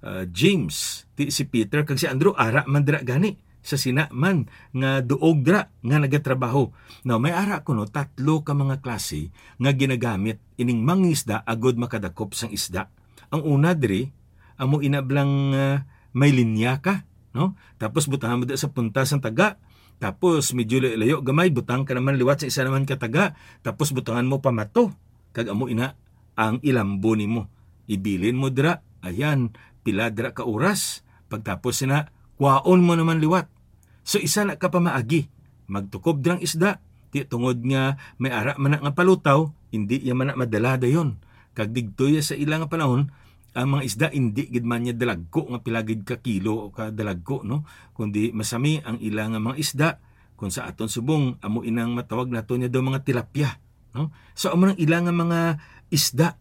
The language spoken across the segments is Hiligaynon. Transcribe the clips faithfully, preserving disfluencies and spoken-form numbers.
ah, James, ti si Peter, kag si Andrew, ara man dira gani sa sina man nga duog dira nga nagatrabaho. Now, may ara kuno tatlo ka mga klase nga ginagamit ining mangisda agud makadakop sang isda. Ang una diri, amo ina blang, ah, may linya ka, no? Tapos butangan mo dira sa punta sang taga, tapos medyo layo-layo gamay, butang ka naman liwat sa isa naman ka taga, tapos butangan mo pamato, kag amo ina ang ilambo nimo. Ibilin mo dira, ayan, pila dira ka oras, pagtapos sina, kwaon mo naman liwat. So, isa na ka pamaagi, magtukob dirang isda, ti tungod nga may ara man na nga palutaw, indi iya man na madala dayon. Kag digto iya sa ila nga panahon, ang mga isda indi gid man niya dalagko nga pila gid ka kilo o ka dalagko, no? Kundi masami ang ila nga mga isda, kung sa aton subong, amo inang matawag nato niya daw mga tilapia, no? So, amo nang ila nga mga isda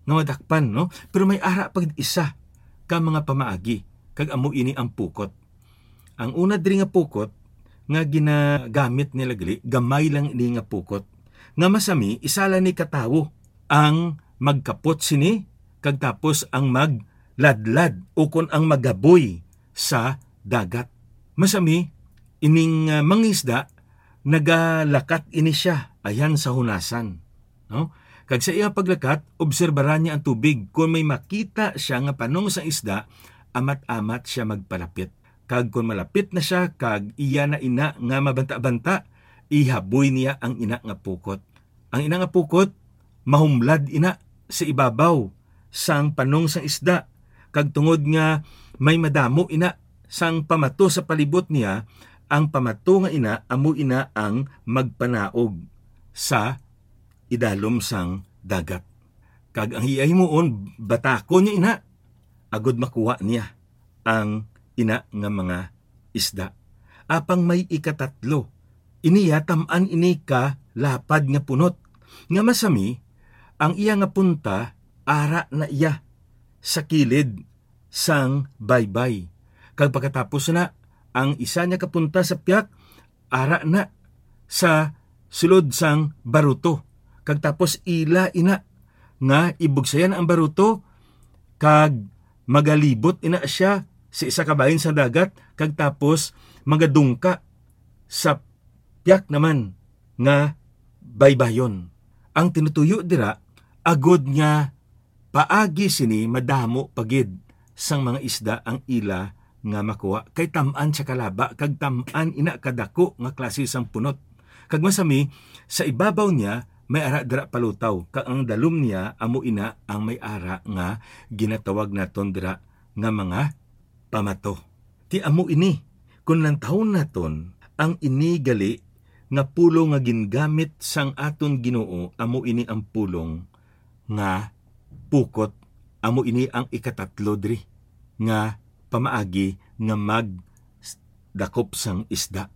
nga madakpan, no? Pero may ara pa gid isa ka mga pamaagi, kag amo ini ang pukot. Ang una diri nga pukot nga ginagamit nila gali, gamay lang ini nga pukot. Nga masami, isa lang ni ka tawo ang magkapot sini, kag tapos ang magladlad, ukon ang magaboy sa dagat. Masami, ining, ah, mangisda, nagalakat ini siya, ayan sa hunasan, no? Kag sa iya paglakat, obserbaran niya ang tubig. Kon may makita siya nga panong sang isda, amat-amat siya magpalapit. Kag kon malapit na siya, kag iya na ina nga mabanta-banta, ihaboy niya ang ina nga pukot. Ang ina nga pukot, mahumlad ina sa ibabaw sang panong sang isda, kag tungod nga may madamo ina sang pamato sa palibot niya, ang pamato nga ina amo ina ang magpanaog sa idalom sang dagat. Kag ang iya himuon, batakon niya ina, agud makuha niya ang ina nga mga isda. Apang may ikatatlo, iniya tam-an ini ka lapad nga punot, nga masami ang iya nga punta ara na iya sa kilid sang baybay. Kag pagkatapos na, ang isa niya ka punta sa piak, ara na sa sulod sang baruto. Kag tapos ila ina nga ibugsayan ang baruto, kag magalibot ina siya sa isa ka bahin sang dagat, kag tapos magadungka sa piak naman nga baybayon. Ang tinutuyo dira, agod nga paagi sini madamo pa gid sang mga isda ang ila nga makuha, kay tam-an sa kalaba kag tam-an ina kadako nga klase sang punot. Kag masami, sa ibabaw niya may ara dira palutaw, kag ang dalom niya amo ina ang may ara nga ginatawag naton dira nga mga pamato. Ti amo ini, kon lantawon naton, ang ini gali nga pulong nga gingamit sang aton Ginoo, amo ini ang pulong nga pukot, amo ini ang ikatatlo diri nga pamaagi nga magdakop sang isda.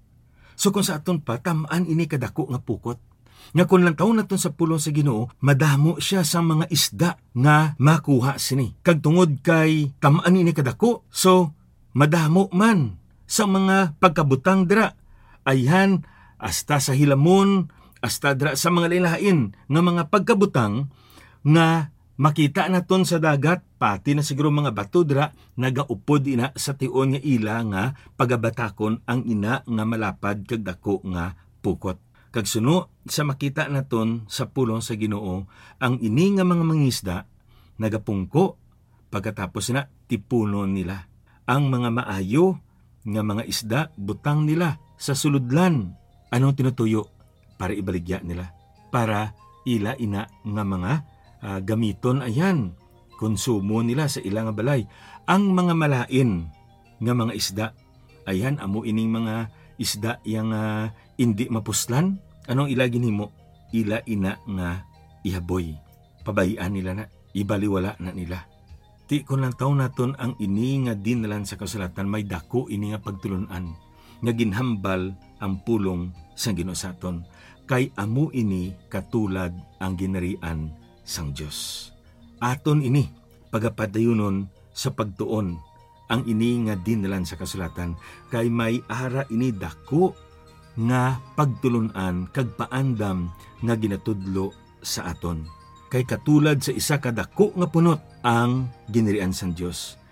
So, kung sa aton pa, tam-an ini kadako nga pukot, nga kon lantawon naton sa pulong sa Ginoo, madamo sia sang mga isda nga makuha sini. Kag tungod kay tam-an ini kadako, so, madamo man sa mga pagkabutang dira, ayhan, hasta sa hilamon, hasta dira sa mga lain-lain nga mga pagkabutang nga makita naton sa dagat, pati na siguro mga bato dira, nagaupod ina sa tion nga ila nga pagabatakon ang ina nga malapad kag dako nga pukot. Kag suno sa makita naton sa pulong sa Ginoo, ang ini nga mga mangisda nagapungko, pagkatapos na tipunon nila. Ang mga maayo nga mga isda butang nila sa sulodlan. Anong tinutuyo? Para ibaligya nila, para ila ina nga mga, ah, gamiton, ayan, konsumo nila sa ila nga balay. Ang mga malain nga mga isda, ayan, amo ining mga isda yang, ah, indi mapuslan. Anong ila ginhimo? Ila ina nga ihaboy. Pabayian nila na, ibaliwala na nila. Ti kon lantawon naton ang ini nga dinlan sa kasulatan, may dako ini nga pagtulon-an nga ginhambal ang pulong sang Ginoo sa aton, kay amo ini katulad ang ginharian sang Dios. Aton ini pagapadayunon sa pagtuon ang ini nga dinlan sa kasulatan, kay may ara ini dako nga pagtulon-an kag paandam nga ginatudlo sa aton. Kay katulad sa isa ka dako nga punot ang ginharian sang Dios,